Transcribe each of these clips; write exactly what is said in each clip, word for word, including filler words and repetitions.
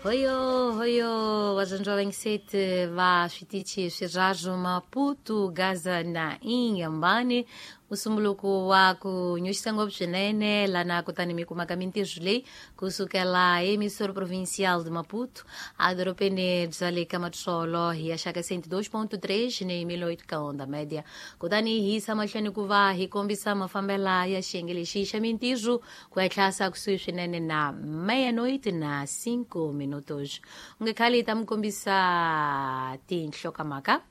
Hoyo hoyo vadyondzi va va switichi swirharu Maputo, Gaza na Inhambane. Musumuluku wa ku nyuxisa ngopfu swinene lana kutani mi kumaka mintirho leyi kusukela emissora provincial de Maputo edorobeni bya le ka Matsolo hi ya xaka cento e dois ponto três ni mil oito ka onda média. Kutani hi yisa mahlweni ku va hi kombisa mafambela ya xiyenge lexi xa mintirho ku ya tlhasa kusuhi swinene na meia-noite na cinco minutos. U nge khali hi ta mi kombisa tinhlokomhaka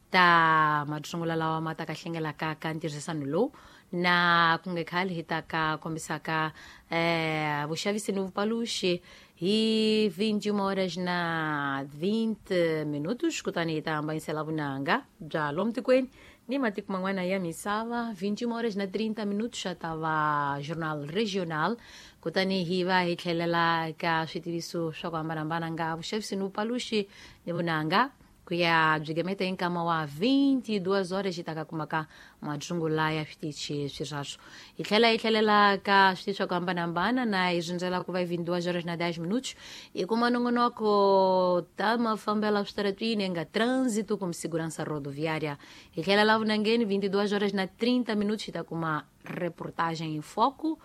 ta matsungula lawa ma ta ka hlengelaka ka ntirhisano lowu na ku nge khali hi ta ka kombisaka eh, vuxavisi ni vupaluxi hi vinte e uma horas na vinte minutos. Kutani hi ta hambanyisela vunanga bya lomu tikweni ni matiko man'wana ya misava. Vinte e uma horas na trinta minutos xa ta va journal regional. Kutani hi va hi tlhelela ka switiviso swa ku hambanahambana nga vuxavisi ni vupaluxi ni vunanga ku ya byigemeta hi nkama wa vinte e duas horas hi ta ka kumaka matsungula ya switichi swirharu. Hi tlhela hi tlhelela ka switichi swa ku hambanahambana na hi rindzela ku va hi vinte e duas horas na dez minutos hi kuma nongonoko ta mafambela switaratwini nga trânsito como segurança rodoviária. Hi tlhela la vunangeni vinte e duas horas na trinta minutos hi ta kuma reportagem em foco.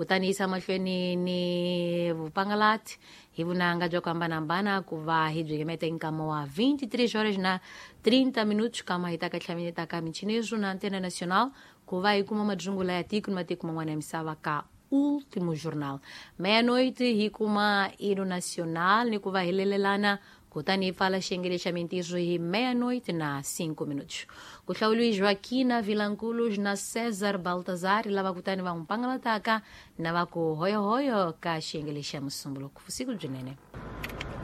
Kutani yisa mahlweni ni vupangalati hi vunanga bya ku hambanahambana ku va hi byigemeta hi nkama wa vinte e três horas na trinta minutos kama hi ta ka tlhamineta ka michineso na antena nacional ku va hi kuma madzungula ya tiko ni matiko man'wana ya misava ka último jornal. Meia-noite hi kuma hino nacional ni ku va hi lelelana. Kutani hi pfala xiyenge xa mintirho hi meia-noite na cinco minutos. Ku hlawuriwe Joaquina Vilanculos na César Baltazar lava kutani va n'wi pangalataka na va ku hoyohoyo ka xiyenge xa musumbuluko. Vusiku byinene.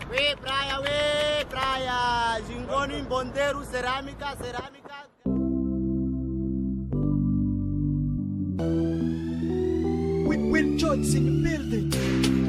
We praia, we praia, Jingoni, Bondeiro, cerâmica, cerâmica. We, we George in the building.